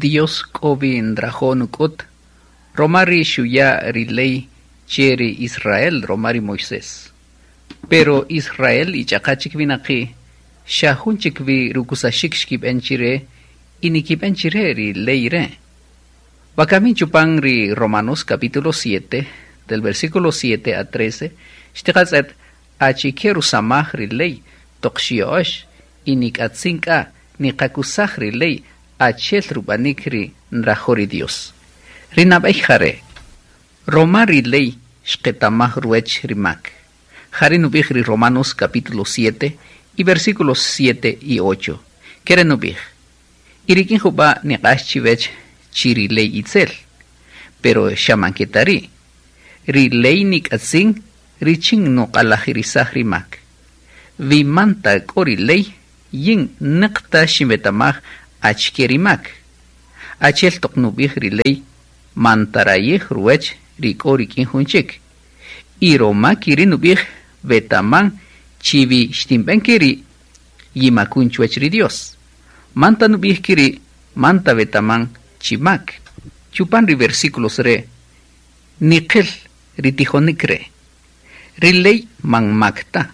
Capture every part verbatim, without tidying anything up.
Dios k'o wi nrajo' nuk'ut, roma ri xuya' ri ley che ri Israel roma ri Moisés. Pero Israel y ch'aqa chik winaqi' xa jun chik wi rukusaxik xkib'en chire y nikib'en chire ri ley re'. Wakamin chupan ri Romanos capítulo siete, del versículo siete a trece, xtiqatz'et achike rusamaj ri ley toq xya'ox y nik'atzin k'a niqakusaj ri ley achel rub'anik ri nrajo' ri Dios. Ri nab'ey jare', roma ri ley xqetamaj ruwech ri mak. Jare' nub'ij ri Romanos capítulo siete y versículos siete y ocho. Kere nub'ij, y rik'in jub'a' niq'ax chiwech chi ri ley itzel, pero xa man ke ta ri'. Ri ley nik'atzin richin nuq'alajirisaj ri mak. Wi man ta k'o ri ley, yin neqta xinwetamaj achike ri mak. Achel toq nub'ij ri ley, man tarayij ruwech ri k'o rik'in jun chik. Y roma kiri nub'ij wetaman chi wi xtinb'en keri' yimakun chuwech ri Dios. Man ta nub'ij kiri', man ta wetaman chi mak. Chupan ri versículos re', niqil ri tijonik re'. Ri ley man mak ta.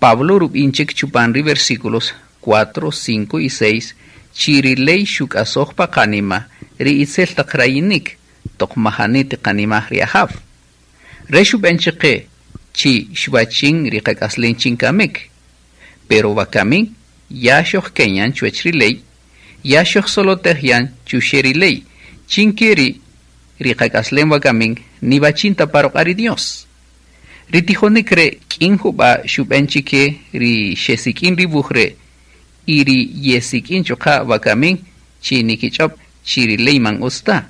Pablo rub'in chik chupan ri versículos cuatro, cinco y seis, chi ri ley xuk'asoj pa qanima ri itzel taq rayinik toq majani tiqanimaj ri Ajaw. Re xub'en chiqe chi xwachin ri qak'aslen chin kamik. Pero wakamin ya xojkenyan chuwech ri ley, ya xojsolotejyan chuxe ri ley, chin keri ri qak'aslen wakamin niwachin ta paroq'a ri Dios. Ri tijonik re' k'in jub'a' xub'en chike ri xesik'in ri wuj re' y ri yesik'in chuqa' wakamin chi nikich'ob' chi ri ley man utz ta.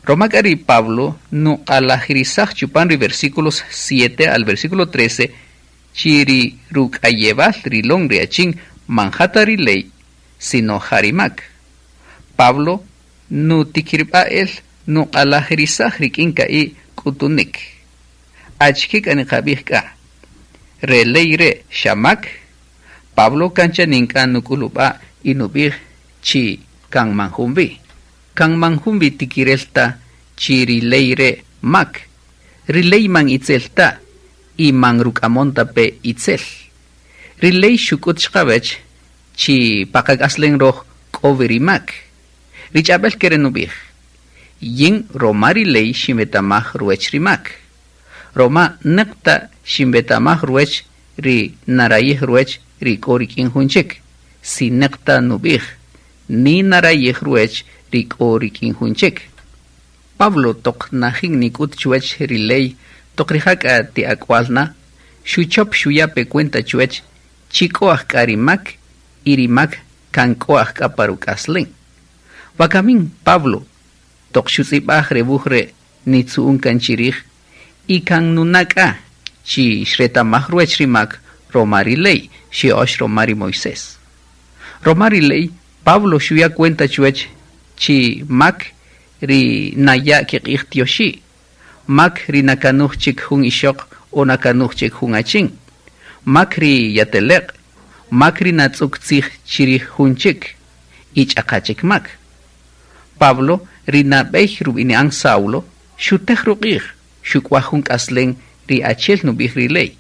Roma k'a ri Pablo nuq'alajirisaj chupan ri versículos siete al versículo trece chi ri ruk'ayewal rilon ri achin man ja ta ri ley, sino ja ri mak. Pablo nutikirb'a el nuq'alajirisaj rik'in ka'i' k'utunik. Achike k'a niqab'ij k'a? Re ley re' xa mak? Pablo kancha nink'a nuk'ulub'a y nub'ij chi kan man jun wi. Kan man jun wi tikirel ta chi ri ley re' mak. Ri ley man itzel ta y man ruk'amon ta pe itzel. Ri ley xuk'ut xqawech chi paqak'aslen roj k'o wi ri mak. Ri ch'ab'el kere nub'ij, yin roma ri ley xinwetamaj ruwech ri mak. Roma neqta xinwetamaj ruwech ri narayij ruwech ri k'o rik'in jun chik. Si neqta nub'ij, ni narayij ruwech ri k'o rik'in jun chik. Pablo toq najin nik'ut chuwech ri ley toq rija' k'a ti ak'wal na, xuchop xuya' pe cuenta chuwech chi k'o aj k'a ri mak y ri mak kan k'o aj k'a pa ruk'aslen. Wakamin Pablo toq xutz'ib'aj re wuj re' nitzu'un kan chirij y kan nuna' k'a chi xretamaj ruwech ri mak roma ri ley xya'ox roma ri Moisés. Roma ri ley Pablo xuya' cuenta chuwech chi mak ri naya' kiq'ij tioxi', mak ri nakanuj chik jun ixoq o nakanuj chik jun achin, mak ri yateleq', mak ri natz'uk tzij chirij jun chik y ch'aqa chik mak. Pablo ri nab'ey rub'ini'an Saulo xutej ruq'ij xuk'waj jun k'aslen ri achel nub'ij ri ley.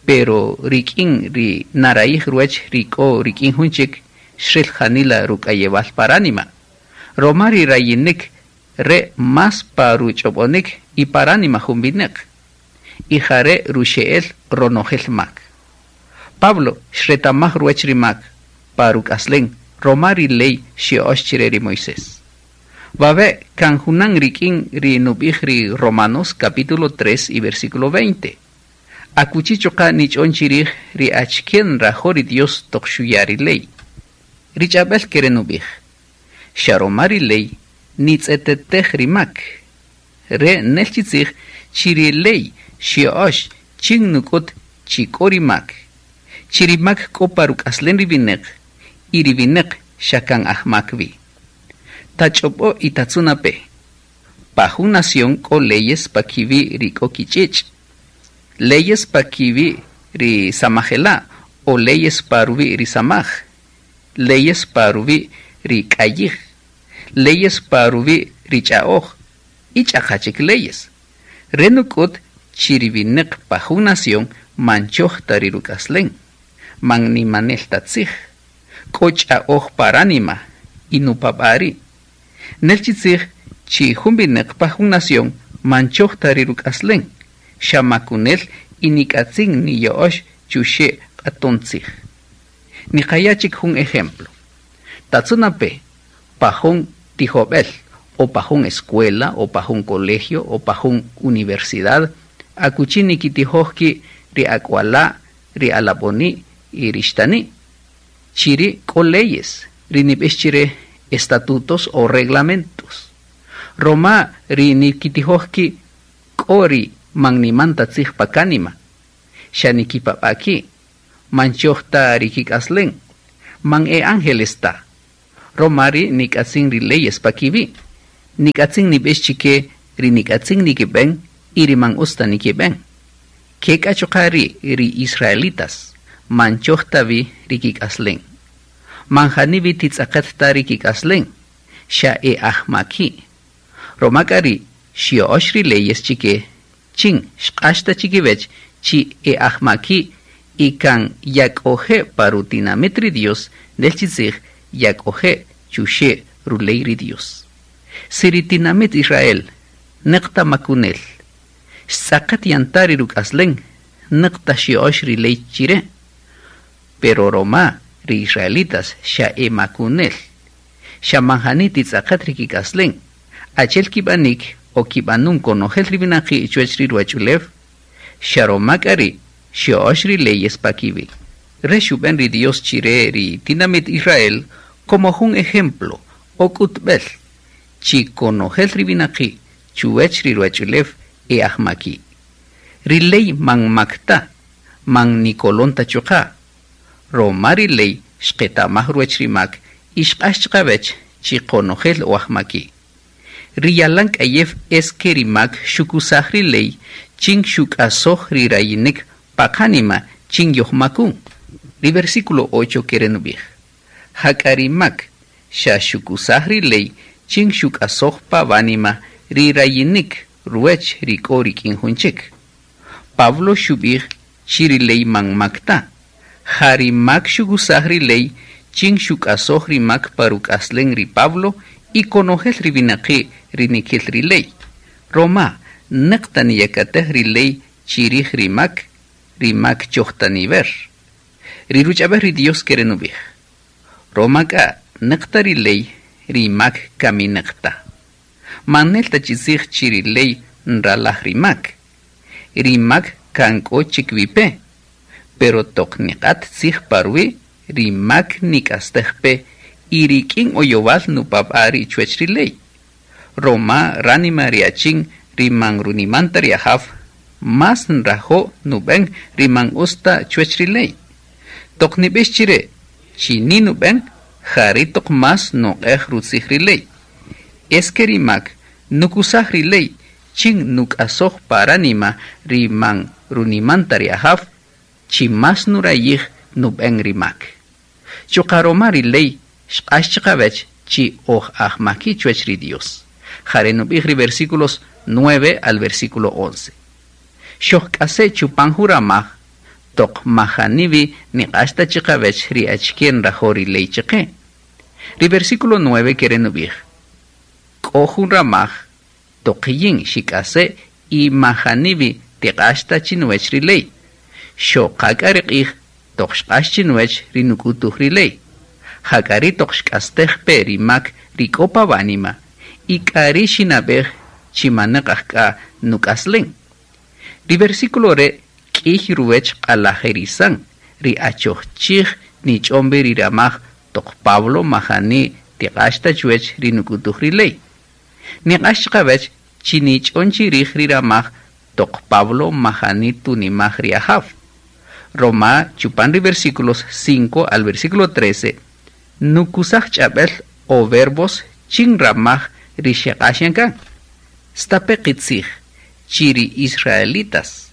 Pero rik'in ri narayij ruwech ri k'o rik'in jun chik xril janila ruk'ayewal paránima. Roma ri rayinik re más pa ruch'ob'onik y paránima jun wineq. Y jare' ruxe'el ronojel mak. Pablo xretamaj ruwech ri mak pa ruk'aslen roma ri ley xya'ox chire ri Moisés. Wawe' kan junan rik'in ri nub'ij ri Romanos capítulo tres y versículo veinte. Akuchi chuqa' nich'on chirij ri achike nrajo' ri Dios toq xuya' ri ley. Ri ch'ab'el kere nub'ij, xa roma ri ley nitz'etetej ri mak. Re' nel chi tzij chi ri ley xya'ox chin nuk'ut chi k'o ri mak. Chi ri mak k'o pa ruk'aslen ri wineq y ri wineq xa kan aj mak wi. Tach'ob'o y tatzuna pe. Pa jun nación k'o leyes pa kiwi' ri k'o kich'ich', leyes pa kiwi' ri samajela' o leyes pa ruwi' ri samaj, leyes pa ruwi' ri k'ayij, Leyes pa ruwi' ri ch'a'oj y ch'aqa chik leyes. Re nuk'ut chi ri winäq pa jun nación man choj ta ri ruk'aslen, man nimanel ta tzij, k'o ch'a'oj pa ránima y nupab'a' ri'. Nel chi tzij chi jun winäq pa jun nación man choj ta ri ruk'aslen, xa makunel y nik'atzin niya'ox chuxe' q'aton tzij. Niqaya' chik jun ejemplo. Tatzunape pa jun tijob'el o pa jun escuela o pa jun colegio o pa jun universidad akuchi nikitijoj ki' ri ak'wala', ri alab'oni' y ri xtani'. Chiri' k'o leyes ri nib'ix chire estatutos o reglamentos. Roma ri nikitijoj ki' k'o ri man niman ta tzij pa kánima, xa nikipab'a' ki', man choj ta ri kik'aslen, man e ángeles ta. Roma ri nik'atzin ri leyes pa kiwi', nik'atzin nib'ix chike ri nik'atzin nikib'en y ri man utz ta nikib'en. Ke k'a chuqa' ri' ri israelitas man choj ta wi ri kik'aslen. Man jani wi titz'aqet ta ri kik'aslen, xa e ajmaki'. Roma k'a ri' xya'ox ri leyes chike, chin xq'ax ta chikiwech chi e ajmaki' y kan yak'oje' pa rutinamit ri Dios, nel chi tzij yak'oje' chuxe' ruley ri Dios. Si ri tinamit Israel neqta makunel, xtz'aqet yanta ri ruk'aslen, neqta xya'ox ri ley chire. Pero roma ri israelitas xa e makunel, xa man jani titz'aqet ri kik'aslen, achel kib'anik o kib'anun konojel ri winaqi' chuwach ri ruwach'ulew, xa roma k'a ri' xya'ox ri leyes pa kiwi'. Re xub'en ri Dios chire ri tinamit Israel como jun ejemplo o k'utb'el chi konojel ri winaqi' chuwach ri ruwach'ulew e ajmaki'. Ri ley man mak ta, man nikolon ta chuqa'. Roma ri ley xqetamaj ruwach ri mak y xq'ax chiqawech chi konojel o ajmaki'. Ri yalan k'ayew es ke ri mak xukusaj ri ley chin xuk'asoj ri rayinik pa qánima chin yojmakun. Ri versículo ocho kere nub'ij. Jak'a ri mak xa xukusaj ri ley chin xuk'asoj pa wánima ri rayinik ruwech ri k'o rik'in jun chik. Pablo xub'ij chi ri ley man mak ta. Ja ri mak xukusaj ri ley chin xuk'asoj ri mak pa ruk'aslen ri Pablo y konojel ri winaqi' ri nikil ri ley. Roma neqta niyakatej ri ley chirij ri mak, ri mak choj ta niver. Ri ruch'ab'ej ri Dios kere nub'ij. Roma k'a neqta ri ley ri mak kaminaqta. Man nel ta chi tzij chi ri ley nralaj ri mak. Ri mak kan k'o chik wipe, pero toq niq'at tzij pa ruwi', ri mak nik'astej pe y rik'in oyowal nupab'a' ri chuwach ri ley. Roma ránima ri achin ri man runimanta ri ajaw, mas nrajo' nub'en ri man utz ta chuwach ri ley. Toq nib'ix chire chi ni nub'en, jari toq mas nuq'ej rutzij ri ley. Es ke ri mak nukusaj ri ley chin nuk'asoj pa ránima ri man runimanta ri ajaw, chi mas nurayij nub'en ri mak. Chuqa' roma ri ley xq'ax chiqawech chi oj ajmaki' chuwach ri Dios. Jare nub'ij ri versículos nueve al versículo once. Xojk'ase' chupan juramaj toq majaniwi niq'ax ta chiqawech ri achike nrajo' ri ley chiqe. Ri versículo nueve kere nub'ij. K'o jun ramaj toq yin xik'ase' y majaniwi tiq'ax ta chinuwech ri ley. Xoqak'a ri q'ij toq xq'ax chinuwech ri nuk'utuj ri ley. Jak'a ri toq xk'astej pe ri mak ri k'o pa wánima y k'a ri xinab'ej chi maneq ajk'a nuk'aslen. Ri versículo re' k'ij ruwech q'alajerisan ri achoj chij nich'ombe ri ramaj toq Pablo majani tiq'ax ta chuwech ri nuk'utuj ri ley. Niq'ax chiqawech chi nich'on chirij ri ramaj toq Pablo majani tunimaj ri ajaw. Roma chupan ri versículos cinco al versículo trece nukusaj ch'ab'el o verbos chin ramaj ri xeq'ax yan kan. Stape qitzij chi ri israelitas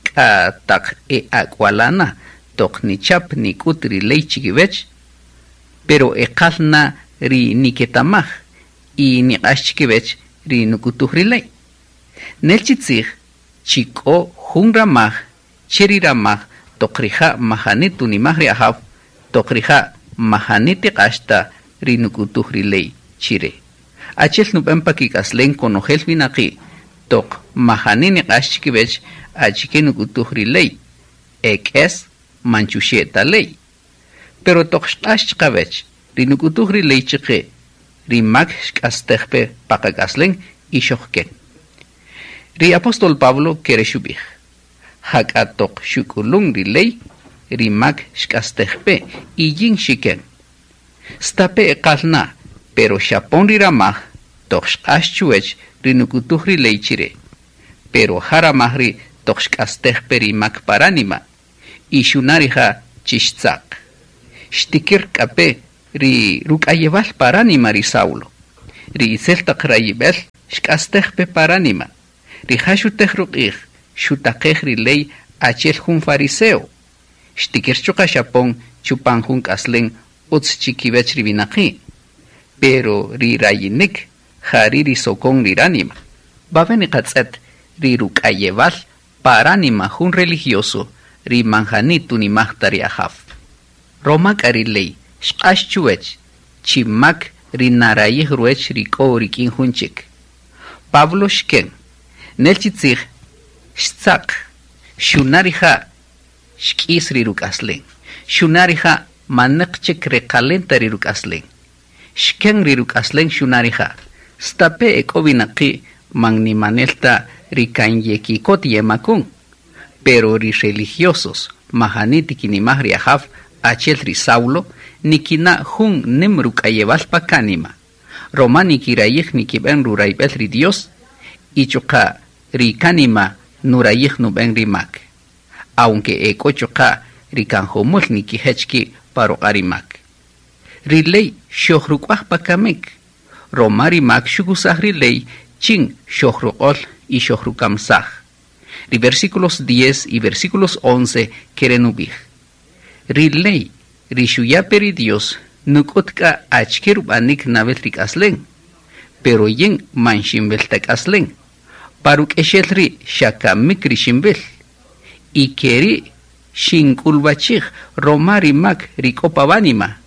k'a taq e ak'walana toq nichap nik'ut ri ley chikiwech, pero eqalna ri niketamaj Y niq'ax chikiwech ri nuk'utuj ri ley. Nel chi tzij chi k'o jun ramaj che ri ramaj toq rija' majani tunimaj ri Ajaw, toq rija' majani tiq'ax ta ri nuk'utuj ri ley chire. Achel nub'en pa kik'aslen konojel winaqi' toq majani niq'ax chikiwech achike nuk'utuj ri ley, ek'es man chuxe' ta ley. Pero toq xq'ax chiqawech ri nuk'utuj ri ley chiqe, ri mak xk'astej pe pa qak'aslen y xojken. Ri apóstol Pablo kere xub'ij, jak'a toq xuk'ulun ri ley, ri mak xk'astej pe y yin xiken. Stape' eqal na, pero xapon ri ramaj toq xq'ax chuwech ri nuk'utuj ri ley chire. Pero ja ramaj ri toq xk'astej pe ri mak paránima y xuna' rija' chi xtzaq. Xtikir k'a pe ri ruk'ayewal paránima ri Saulo. Ri itzel taq rayib'el xk'astej pe paránima. Rija' xutej ruq'ij xutaqej ri ley achel jun fariseo. Xtikir chuqa' xapon chupan jun k'aslen utz chikiwech ri winaqi'. Pero ri rayinik jari ri sokon ri ránima. Wawe' niqatz'et ri ruk'ayewal paránima jun religioso ri man jani tunimaj ta ri Ajaw. Roma k'a ri ley xq'ax chuwech chi mak ri narayij ruwech ri k'o rik'in jun chik. Pablo xken, nel chi tzij xtzaq, xuna' rija' xk'is ri ruk'aslen, xuna' rija' maneq chik reqalen ta ri ruk'aslen. Xken ri ruk'aslen xuna' rija'. Stape' ek'o winaqi' man nimanel ta ri kan yekikot yemakun, pero ri religiosos majani tikinimaj ri Ajaw achel ri Saulo nikina' jun nim ruk'ayewal pa kánima. Roma nikirayij nikib'en rurayb'el ri Dios y chuqa' ri kánima nurayij nub'en ri mak. Aunque ek'o chuqa' ri kan jumul nikijech ki' pa ruq'a' ri mak. Ri ley xojruk'uaj pa kamik. Roma ri mak xukusaj ri ley chin xojruq'ol y xojrukamsaj. Ri versículos diez y versículos once kere nub'ij. Ri ley ri xuya' pe ri Dios nuk'ut k'a achike rub'anik nawel ri k'aslen, pero yin man xinwil ta k'aslen. Pa ruk'exel ri' xa kamik ri xinwil. Y keri' xink'ulwachij roma ri mak ri k'o pa wánima.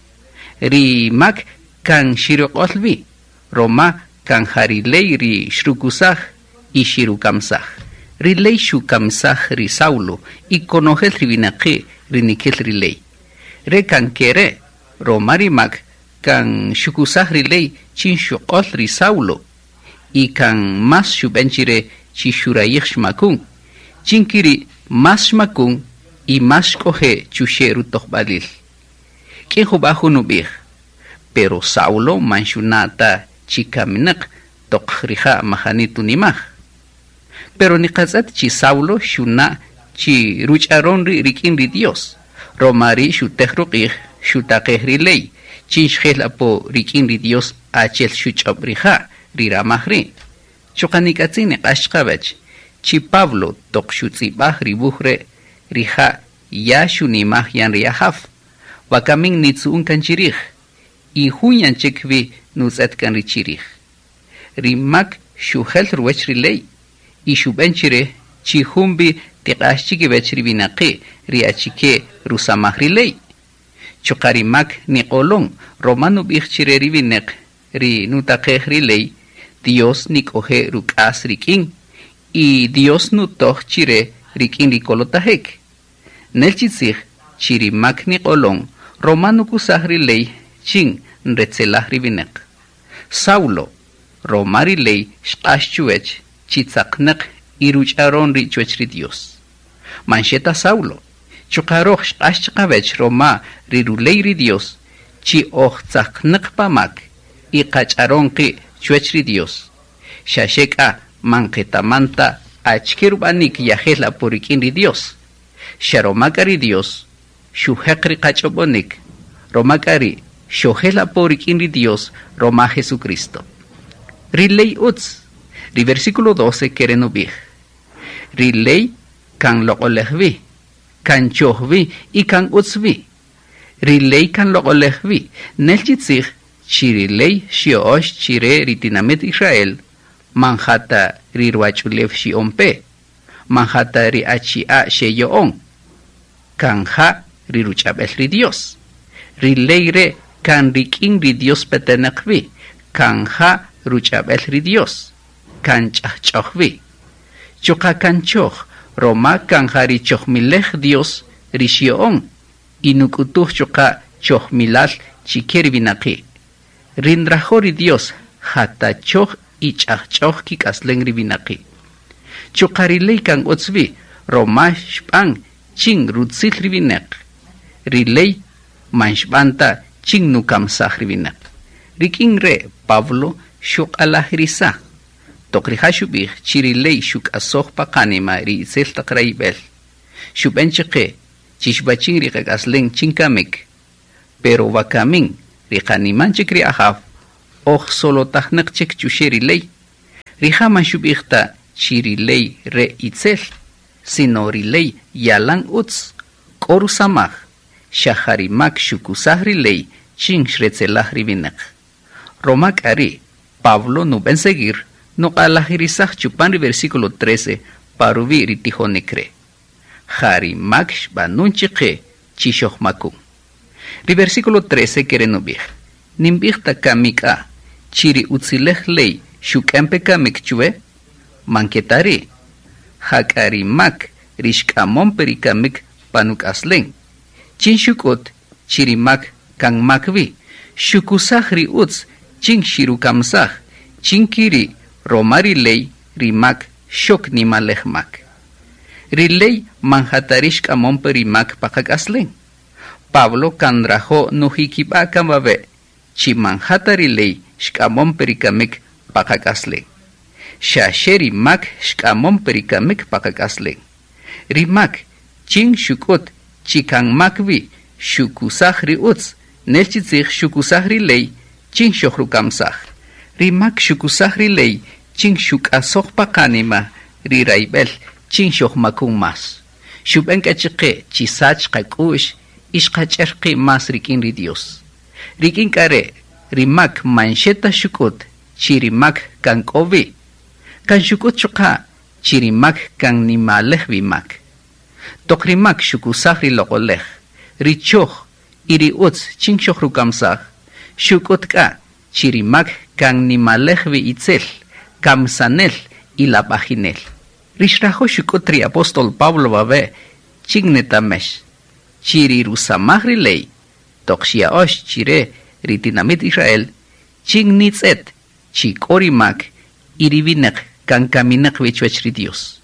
Ri mak kan xiruq'ol wi, roma kan ja ri ley ri xrukusaj y xirukamsaj. Ri ley xukamsaj ri Saulo y konojel ri winaqi' ri nikil ri ley. Re kan kere, roma ri mak kan xukusaj ri ley chin xuq'ol ri Saulo y kan mas xub'en chire chi xurayij xmakun. Chin kiri mas xmakun y mas xk'oje' chuxe' rutojb'alil. K'in jub'a' jun ub'ij, pero Saulo man xuna' ta chi kaminaq toq rija' majani tunimaj. Pero niqatz'et chi Saulo xuna' chi ruch'aron ri' rik'in ri Dios. Roma ri' xutej ruq'ij xutaqej ri ley, chin xjel apo rik'in ri Dios achel xuch'ob' rija' ri ramaj ri'. Chuqa' nik'atzin niq'ax chiqawech, chi Pablo toq xutz'ib'aj ri wuj re' rija' ya xunimaj yan ri Ajaw. Wakamin nitzu'un kan chirij, y jun yan chik wi nutz'et kan ri chirij. Ri mak xujel ruwech ri ley, y xub'en chire chi jun wi tiq'ax chikiwech ri winaqi' ri achike rusamaj ri ley. Chuqa' ri mak niq'olon, roma nub'ij chire ri winaq ri nutaqej ri ley, Dios nik'oje' ruk'as rik'in, y Dios nutoj chire rik'in ri kolotajek. Nel chi tzij chi ri mak niq'olon, roma nukusaj ri ley chin nretzelaj ri winaq. Saulo, roma ri ley xq'ax chuwech chi tzaqnaq y ruch'aron ri chuwech ri Dios. Man xeta Saulo, chuqa' roj xq'ax chiqawech roma ri ruley ri Dios chi oj tzaqnaq pa mak y qach'aron qi' chuwech ri Dios. Xa xe k'a man qetaman ta achike rub'anik yajel apo rik'in ri Dios. Xa roma k'a ri Dios xujeq ri qach'ob'onik, roma k'a ri' xojel apo rik'in ri Dios roma Jesucristo. Ri ley utz, ri versículo doce kere nub'ij. Ri ley kan loq'olej wi, kan choj wi y kan utz wi. Ri ley kan loq'olej wi, nel chi tzij Chi ri ley xya'öx chi re ri tinamït Israel man ja ta ri ruwach'ulew xya'on pe, man ja ta ri achi'a' xeya'on, kan ja ri ruch'ab'el ri Dios. Ri ley re' kan rik'in ri Dios petenäq wi, kan ja ruch'ab'el ri Dios, kan ch'ajch'öj wi. Chuqa' kan choj, roma kan ja ri chojmilej Dios ri xya'on y nuk'utuj chuqa' chojmilal chi ke ri winaqi'. Ri nrajo' ri Dios ja ta choj y ch'ajch'öj kik'aslen ri winaqi'. Chuqa' ri ley kan utz wi, roma xb'an chin rutzil ri winäq. Ri ley man xb'an ta chin nukamsaj ri winäq. Rik'in re' Pablo xuq'alajirisaj. Toq rija' xub'ij chi ri ley xuk'asoj pa qanima ri itzel taq rayb'el. Xub'en chaqe chi xwachin ri qak'aslen chin kamik. Pero wakamin ri qaniman chik ri Ajaw oj solotajnäq chik chuxe' ri ley. Rija' man xub'ij ta chi ri ley re itzel, sino ri ley yalan utz, k'o rusamaj, xa ja ri mak xukusaj ri ley chin xretzelaj ri winäq. Roma k'a ri' Pablo nub'en seguir nuq'alajirisaj chupan ri versículo trece pa ruwi' ri tijonik re'. Ja ri mak xb'anun chiqe chi xojmakun. Ri versículo trece kere nub'ij: Ninb'ij ta kamik k'a chi ri utzilej ley xuk'en pe kamik chuwe, man ke ta ri'. Ja k'a ri mak ri xk'amon pe ri kamik pa nuk'aslen. Chin xuk'ut chi ri mak kan mak wi, xukusaj ri utz chin xirukamsaj, chin kiri roma ri ley ri mak xok nimalej mak. Ri ley man ja ta ri xk'amon pe ri mak pa qak'aslen. Pablo kan nrajo' nujikib'a' kan wawe' chi man ja ta ri ley xk'amon pe ri kamik pa qak'aslen. Xa xe ri mak xk'amon pe ri kamik pa qak'aslen. Ri mak chin xuk'ut chi kan mak wi xukusaj ri utz, nel chi tzij xukusaj ri ley chin xojrukamsaj. Ri mak xukusaj ri ley chin xuk'asoj pa qanima ri rayb'el chin xojmakun más. Xub'en k'a chiqe chi sach qak'u'x y xqach'er qi' más rik'in ri Dios. Rik'in k'a re' ri mak man xe ta xuk'ut chi ri mak kan k'o wi, kan xuk'ut chuqa' chi ri mak kan nimalej wi mak. Toq ri mak xukusaj ri loq'olej, ri choj y ri utz chin xojrukamsaj, xuk'ut k'a chi ri mak kan nimalej wi itzel, kamsanel y lab'ajinel. Ri xrajo' xuk'ut ri apóstol Pablo wawe' chin netamex, chi ri rusamaj ri ley, toq xya'öx chi re ri tinamït Israel, chin nitz'et chi k'o ri mak y ri winäq kan kaminäq wi chuwäch ri Dios.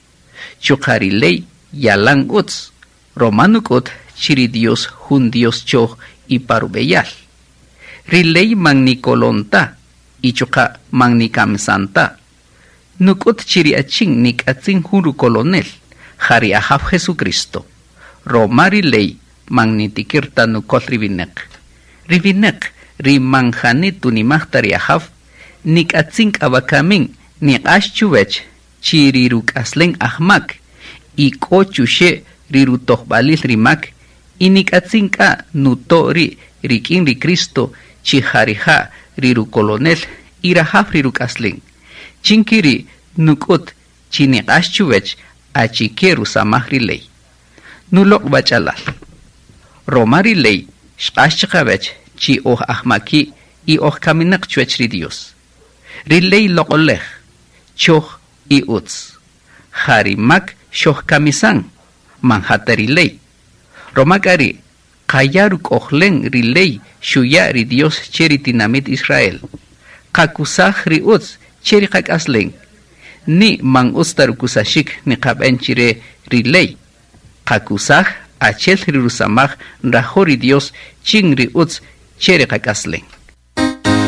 Chuqa' ri ley yalan utz, roma nuk'ut chi ri Dios jun Dios choj y pa rub'eyal. Ri ley man nikolon ta y chuqa' man nikamsan ta. Nuk'ut chi ri achin nik'atzin jun rukolonel, ja ri Ajaw Jesucristo. Roma ri ley man nitikir ta nukol ri winäq. Ri winäq ri man jani tunimaj ta ri Ajaw, nik'atzin k'a wakamin niq'ax chuwech chi ri ruk'aslen ajmak y k'o chuxe' ri rutojb'alil ri mak y nik'atzin k'a nuto' ri' rik'in ri Cristo chi ja rija' ri rukolonel y rajaw ri ruk'aslen. Chin kiri' nuk'ut chi niq'ax chuwech achike rusamaj ri ley. Nuloq' wach'alal. Roma ri ley xq'ax chiqawech chi oj ajmaki' y oj kaminäq chuwech ri Dios. Ri ley loq'olej, choj y utz. Ja ri mak xojkamisan, man ja ta ri ley. Roma k'a ri' qaya' ruk'ojlen ri ley xuya' ri Dios che ri tinamït Israel. Qakusaj ri utz che ri qak'aslen. Ni man utz ta rukusaxik niqab'en chi re ri ley. Qakusaj achel ri rusamaj nrajo' ri Dios chin ri utz che ri qak'aslen.